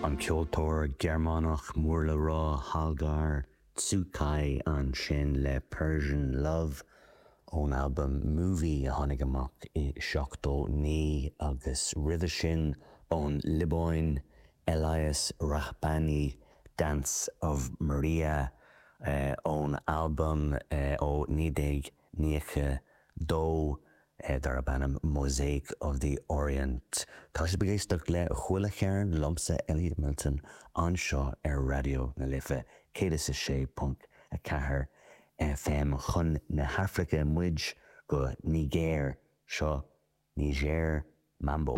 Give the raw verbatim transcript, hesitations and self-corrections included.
An ceoltóir Gearmánach mór le rá Hagar Czukay ansin le Persian Love ón albam Movie a tháinig amach i seachtó naoi agus roimhe sin ón Liobáin Elias Rahbani Dance of Maria uh, ón albam uh, ó naoi déag nócha dó uh, darb ainm Mosaic of the Orient. Tá sibh ag éisteacht le Chuile Cheird liomsa Elliot Milton anseo ar Raidió na Life céad is a sé ponc a ceathair FM chun na hAfraice muid go Nigéir seo Niger Mambo.